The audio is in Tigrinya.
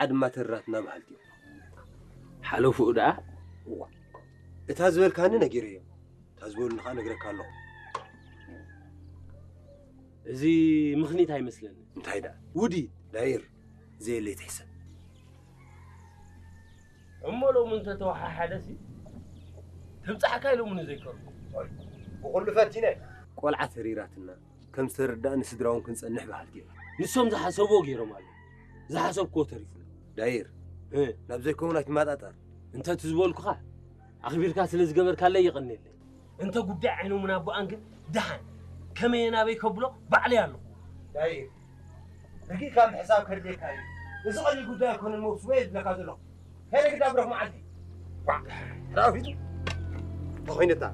ዓድማ ተራትና በሃልቲ እዮም። ሓለፉኡ ደኣ? እዋ፣ እታ ዝበልካኒ ነጊረዮም፣ እታ ዝበሉኒ ኸዓ ነግረካ ኣለኹ። እዚ ምኽኒት ኣይመስለኒ። እንታይ ደኣ? ውዲ ዳይር፣ ዘየለይ ትሕሰብ። እሞ ሎሚ እንተተወሓሓደሲ ተብጻሕካ ኢሎምኒ ዘይከርኩ። ብኹሉ ፈቲነ። ቆልዓ ተሪራትና፣ ከም ዝተረዳእኒ ስድራ እውን ክንጸንሕ በሃልቲ እዮም። ንሶም ዝሓሰብዎ ገይሮም ኣለዉ። ዝሓሰብክዎ ተሪፉ። ዳይር፣ እ። ናብ ዘይከውን ኣይትመጣጠር። እንተ እቲ ዝበልኩኻ ኣኽቢርካ ስለ ዝገበርካለይ የቐንየለይ። እንተ ጉዳይ ዓይኖምን ኣቦኣን ግን ደሓን ከመይ ናበይ ከብሎ ባዕለይ ኣለኹ። ዳይር፣ ርጊእካ ምሕሳብ ከድልየካ እዩ። እዚ ቀሊል ጉዳይ ኣይኮነን መውስቦ እየ ዝብለካ ዘለኹ። ከይደ ግዳ ብረኽ መዓልቲ። ዋ፣ ራፊቱ። ተኾይነታ።